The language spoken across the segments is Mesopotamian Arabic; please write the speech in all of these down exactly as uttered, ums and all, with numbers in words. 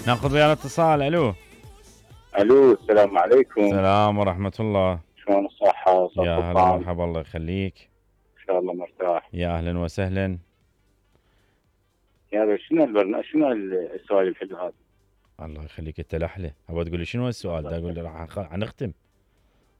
ناخذ ويانا اتصال. الو الو السلام عليكم. السلام ورحمة الله. شلون الصحة؟ يا هلا مرحبا الله يخليك. ان شاء الله مرتاح. يا اهلا وسهلا. يا شنو البرنامج، شنو السؤال الحلو هذا؟ الله يخليك انت الاحلى. ابغى تقول لي شنو السؤال؟ دا اقول لي راح حنختم.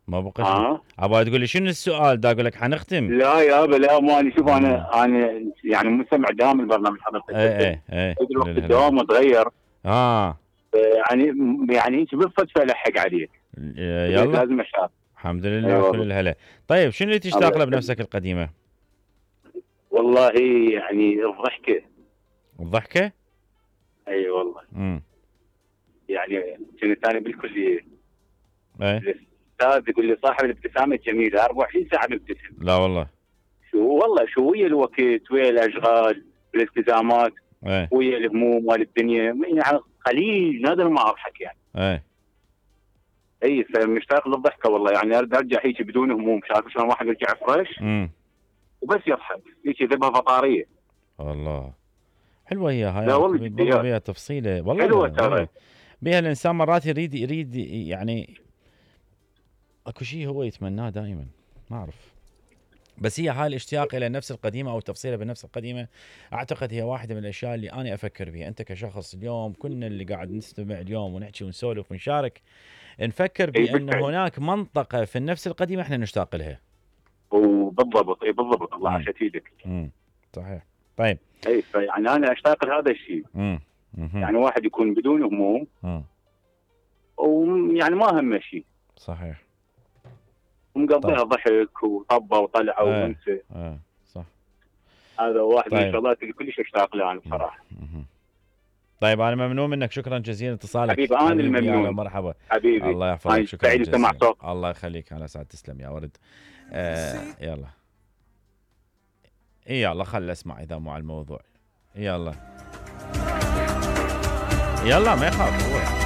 ما بقى شيء. ابغى تقول لي شنو السؤال؟ دا اقول لك حنختم. لا يابا لا، ماني شوف انا انا يعني مستمع دائم البرنامج حضرتك. اي اي اي الدوام متغير. اه يعني يعني انت بالصدفه الحق عليك. يلا لازم اشارك. الحمد لله كل الهلا. طيب شنو اللي تشتاق له بنفسك القديمه؟ والله يعني الضحكه. الضحكه؟ اي والله. امم يعني كنت انا بالكليه. اي الاستاذ يقول لي صاحب الابتسامه الجميله أربعة وعشرين ساعه مبتسم. لا والله. شو والله شو ويا الوقت ويا الاشغال والالتزامات. ايه ويا الهموم مال الدنيا يعني قليل نادر ما اضحك يعني. ايه اي فمشتاق للضحكه والله، يعني ارد ارجع هيك بدون هموم، شايف شلون واحد يرجع فريش. امم وبس يضحك هيك ذبها فطاريه. والله حلوه هي هاي. لا والله والله بيها تفصيله والله حلوه ترى. بيها الانسان مرات يريد يريد يعني اكو شيء هو يتمناه دائما ما اعرف، بس هي هاي الاشتياق الى النفس القديمه او التفصيله بالنفس القديمه اعتقد هي واحده من الاشياء اللي انا افكر بها. انت كشخص اليوم كنا اللي قاعد نستمع اليوم ونحكي ونسولف ونشارك نفكر بان هناك منطقه في النفس القديمه احنا نشتاق لها. وبالضبط اي بالضبط الله عاشت ايدك. امم صحيح. طيب اي يعني انا اشتاق لهذا الشيء. امم يعني واحد يكون بدون هموم. امم ويعني ما همه شيء. صحيح. ومقضيها ضحك وطبه وطلعه آه. وانسى. اه صح. هذا واحد طيب. من الشغلات اللي كلش اشتاق لها انا بصراحه. مم. طيب انا ممنون منك، شكرا جزيلا اتصالك حبيبي. انا الممنون. مرحبا حبيبي. الله يحفظك. شكرا سعيد جزيلا. سمع صوت. الله يخليك. على سعد. تسلم يا ورد. آه يلا اي يلا خل اسمع اذا مو على الموضوع. يلا يلا ما يخاف هو.